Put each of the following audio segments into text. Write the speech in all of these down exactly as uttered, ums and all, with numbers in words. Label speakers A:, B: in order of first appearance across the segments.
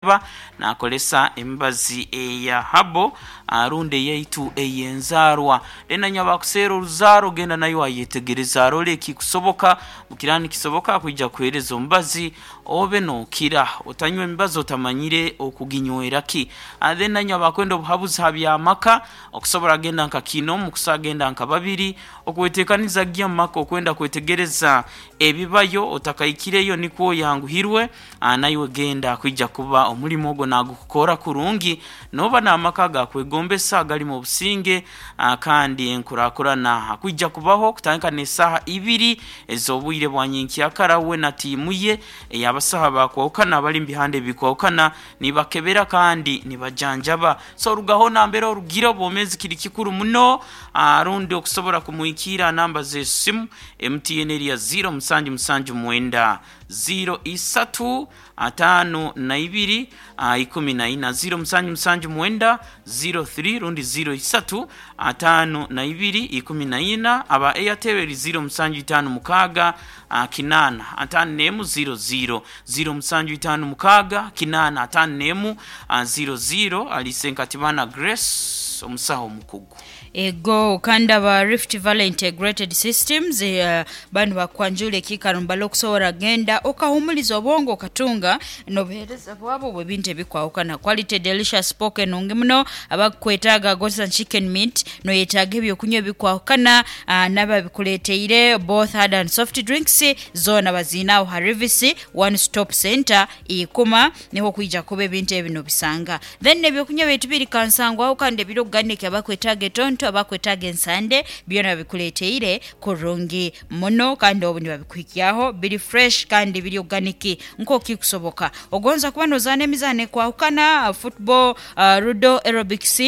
A: kujanjaba nakolesa emibazi eya habo rundi eyaitu ey'enzaarwa. Then nanywa bakuseera oruzaaro, genda nayo ayetegereza arole ekikusoboka mukira nikisoboka akwija kuheereza omubazi obe nookira. Otanywa emibazi otamanyire okuginywera ki. Then nanywa bakwenda obuhabuzi ha by'amaka, okusobora genda nka kiinoomu, okusobora genda nka babiri, okweteekaniza gya omu maka okwenda kwetegereza ebibayo otakaikireyo nikwo oyanguhirwe, naiwe genda akwija kuba omulimo ogwo nagukukora kurungi nooba n'amaka agakwegombesa agarimu obusinge kandi enkurakurana akwija kubaho kutandika n'esaaha ibiri ez'obwire bwa nyenkyakara. We na tiimu ye ey'abasaho abakwahukana abali mu bihanda ebikwahukana nibakebera kandi nibajanjaba. So orugaho nambere orugire, obwomeezi kiri kikuru muno, rundi okusobora kumwikiira aha namba z'esimu M T N eri ya ziro musanju musanju mwenda ziro isatu ataano na ibiri ikumi na ina, ziro musanju musanju mwenda ziro three rundi ziro isatu ataano na ibiri ikumi na ina. Aba Airtel eri ziro musanju itaano mukaaga kinaana ataano n'emu ziro ziro, ziro musanju itaano mukaaga kinaana ataano n'emu ziro ziro. Ali Senkatibana Grace, omusaho omukugu.
B: Ego, kandi aba Rift Valley Integrated Systems uh, banu bakwanjula ekiikaro mbale okusobola genda okahumuliza obwongo okatunga n'obuheereza bwabo bw'ebintu ebikwawukana, quality delicious pork enungi muno, abakwetaaga goats and chicken meat, noyetaaga ebyokunywa ebikwawukana, uh, n'ababikuleeteire both hard and soft drinks zoona baziine aho ha Rivisi One Stop Center Ikuma, niho okwija kuba ebintu ebi nobisanga. Then ebyokunywa byaitu biri kansangwaho kandi ebiri organic, abakwetaaga etonto, abakwetaaga ensande, byona babikuleeteire kurungi muno kandi obu nibabikuhikyaho biri fresh kandi biri organic nk'okikusoboka. Ogonza kuba nozaana emizaano ekwahukana, football, uh, ludo, aerobics,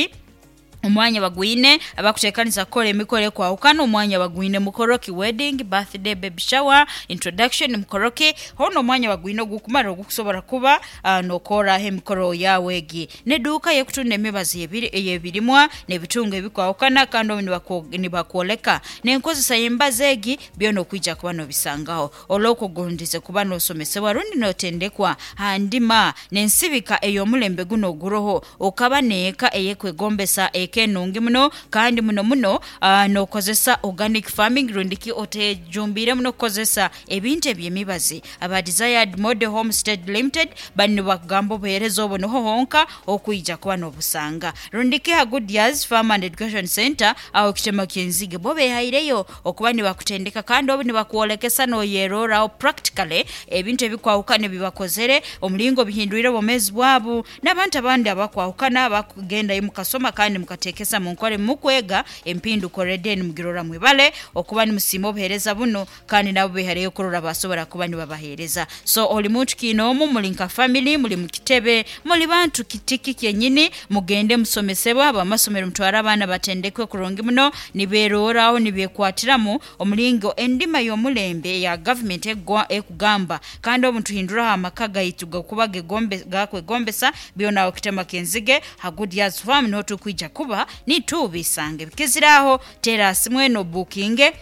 B: omwanya bagwine. Abakuteekaniza kukola emikolo ekwawukana, omwanya bagwine, mukoroki, wedding, birthday, baby shower, introduction, mukoroki hoona omwanya bagwine ogukumara ogukusobola kuba uh, nokoraho emikoro yawe egi. N'eduuka yekutunda emibazi ey'ebirimwa n'ebitungo ebikwawukana kandi obu nibakwoleka n'enkozesa y'emibazi egi, byona okwija kuba nobisangaho. Olwokugondeze kuba nosomesebwa rundi notendekwa ha ndima n'ensibika ey'omulembe guno oguroho, okaba n'eka eyekwegombesa, eka enungi muno kandi muno muno uh, n'okozesa organic farming rundi ki otejumbiire muno okukozesa ebintu eby'emibazi. Aba Desired Model Homestead Limited bali nibakugamba obuheereza obwo niho honka okwija kuba n'obusanga, rundi ki ha Goodyears Farm and Education Center aho kitema ky'enzige, bo behaireyo okuba nibakutendeka kandi obu nibakwolekesa noyeroraho practically ebintu ebikwahukana ebibakozere, omulingo bihindwire obwomeezi bwabu n'abantu abandi abakwahukana abakugendayo mukasoma kandi mukateekesa mu nkora ebimukwega, empinduka already nimugirora. Mwibale okuba nimusiima obuheereza buno kandi nabo behaireyo kurora basobora kuba nibabaheereza. So oli muntu kiinoomu, muli nka family, muli mu kitebe, muli bantu kitiki kyenyini, mugende musomesebwa. Abamasomero mutware abaana batendekwe kurungi muno nibeeroraho nibeekwatiramu omulingo endima y'omulembe eya gavumenti ekugamba kandi obu nituhinduraho amaka gaitu gakuba gakwegombesa. Byona aho kitema ky'enzige ha Goodyears Farm niho tukwija kuba nitubisanga. Ebikiziraho terasi mwene obukinge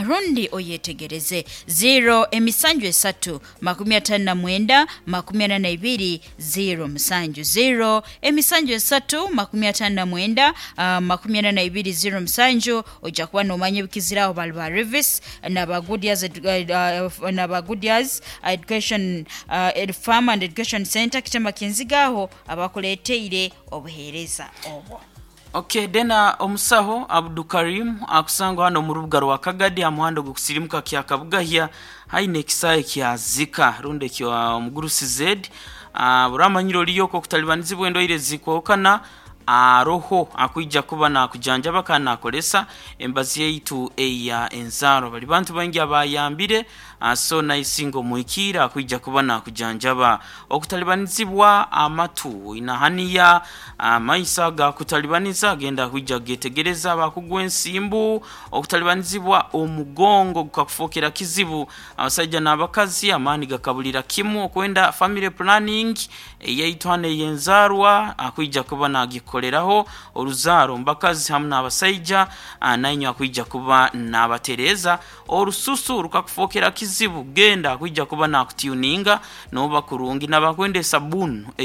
B: rundi oyetegereze ziro emisanju esatu makumi atano na mwenda makumi ana na ibiri ziro musanju, ziro emisanju esatu makumi atano na mwenda uh, makumi ana na ibiri ziro musanju. Ojja kuba nomanya ebikiziraho. Bali ba Rivis naba Goodyears, uh, naba Goodyears Education uh, Farm and Education Center kitema ky'enzigaho abakuleeteire obuheereza obwo.
A: Okay, then omusaho Abdukarim akusangwa hano omu rubuga rwa Kagadi aha muhanda ogukusirimuka kya Kabugahya haine ekisaayi kya Zika rundi ekya omugurusi Z. uh, buramanyire oriyo okutalibanizibwa endwaire zikwahukana, aroho akwija kuba nakujanjaba kandi nakolesa embazi yaitu eya enzaaro. Bali bantu baingi abayambire, so naisinga omwikiira akwija kuba nakujanjaba okutalibanizibwa amatu inahaniya amaiso agakutalibaniza, agenda kwija getegereza. Bakugwa ensimbu, okutalibanizibwa omugongo gukakufokera kizibu, abasaija n'abakazi amaani gakabulira kimu, okwenda family planning eyaitu hano ey'enzaarwa akwija kuba nagikoleraho oruzaaro mubakazi hamu n'abasaija, nainywe akwija kuba nabatereeza. Orususu rukakufokera kizibu, genda akwija kuba nakutuninga noba kurungi. Nabakwenda esabuni.